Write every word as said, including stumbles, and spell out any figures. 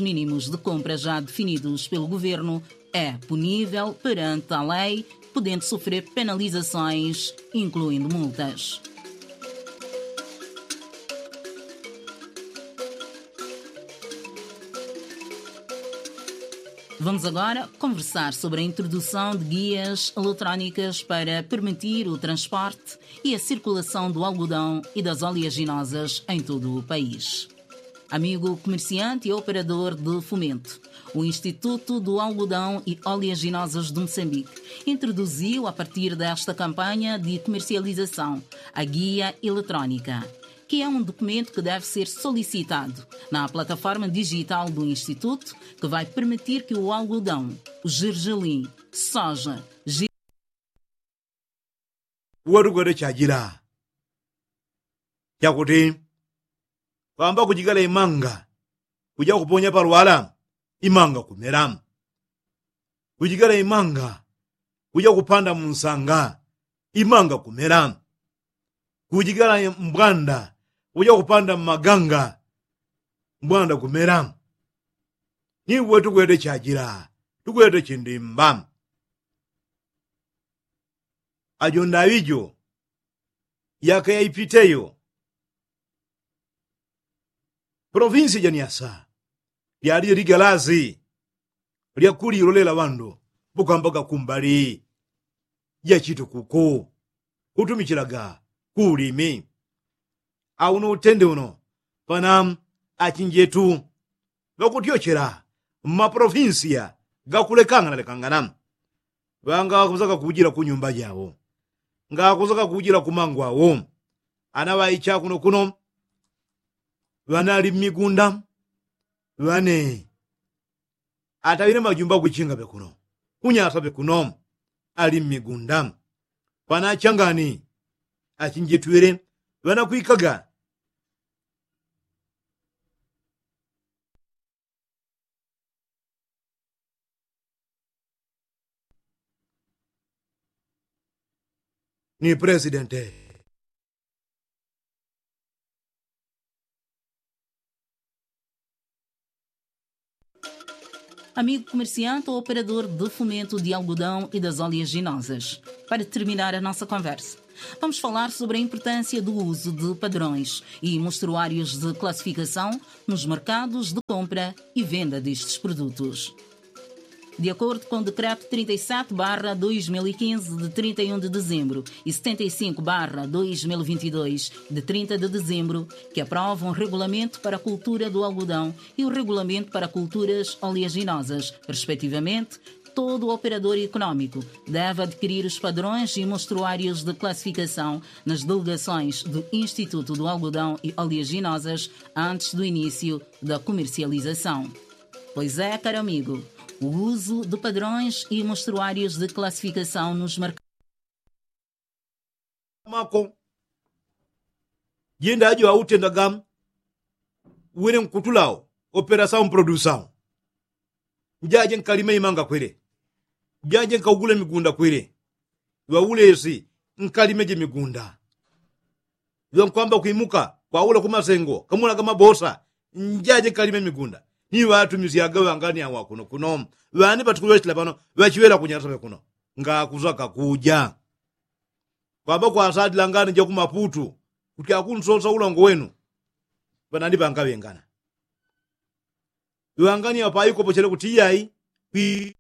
mínimos de compra já definidos pelo governo é punível perante a lei, podendo sofrer penalizações, incluindo multas. Vamos agora conversar sobre a introdução de guias eletrónicas para permitir o transporte e a circulação do algodão e das oleaginosas em todo o país. Amigo comerciante e operador de fomento, o Instituto do Algodão e Oleaginosas de Moçambique introduziu, a partir desta campanha de comercialização, a guia eletrónica, que é um documento que deve ser solicitado na plataforma digital do Instituto, que vai permitir que o algodão, o gergelim, soja, gi- Uwe tukwete chajila chakuti kwamba kujigala imanga kuja kuponya palwala, imanga kumela. Kujigala imanga kuja kupanda munsanga, imanga kumela. Kujigala mbwanda kuja kupanda mmaganga, mbwanda kumela. Ni uwe tukwete chajila, tukwete chindimba. Ajo ndaŵi jo yaka yaipiteyo, polovinsi ja nyasa lyalile ligalasi lyakulilolela ŵandu, mbukambaga kumbali ja chitukuku kutumichilaga ku ulimi. Auno utende uno pana achinjetu ŵakutyochela mmapolofinsiya gakulekangana lekangana. Ŵanga ŵakuzaga kujila ku nyumba jawo, ngakuzaga kujila ku mangu awo. Ana ŵaicha kuno kuno ŵanali mmigunda, ŵane ataŵile majumba kwichinga ŵe kuno kunyasa ŵe kuno, ali mmigunda. Pana achangani achinjitwile ŵanakwikaga. Ni pulezidente. Amigo comerciante ou operador de fomento de algodão e das oleaginosas, para terminar a nossa conversa, vamos falar sobre a importância do uso de padrões e mostruários de classificação nos mercados de compra e venda destes produtos. De acordo com o Decreto trinta e sete barra dois mil e quinze, de trinta e um de dezembro, e setenta e cinco barra dois mil e vinte e dois, de trinta de dezembro, que aprovam o Regulamento para a Cultura do Algodão e o Regulamento para Culturas Oleaginosas, respectivamente, todo operador econômico deve adquirir os padrões e mostruários de classificação nas delegações do Instituto do Algodão e Oleaginosas antes do início da comercialização. Pois é, caro amigo, o uso de padrões e mostruários de classificação nos mercados. Mako jenda ajo autendaga wene nkutulao, operasawo mprodusawo. Njaje nkalime imanga kwele, njaje nkaugule migunda kwele. Ŵaulesi nkalime je migunda. Ŵankwamba kwimuka kwaula ku masengo kamulaga mabosa, njaje nkalime migunda. Ni ŵatumisyaga ŵangani awa kuno kuno ŵani ŵatukuŵechela pano ŵachiŵela kunyasa ŵe kuno. Ngakuza kakuja kwamba kwasadila ngani ja ku maputu kuti akunsosa ulango wenu. Ŵanani ŵangaŵengana ŵangani apaikopochele kuti iyai kwi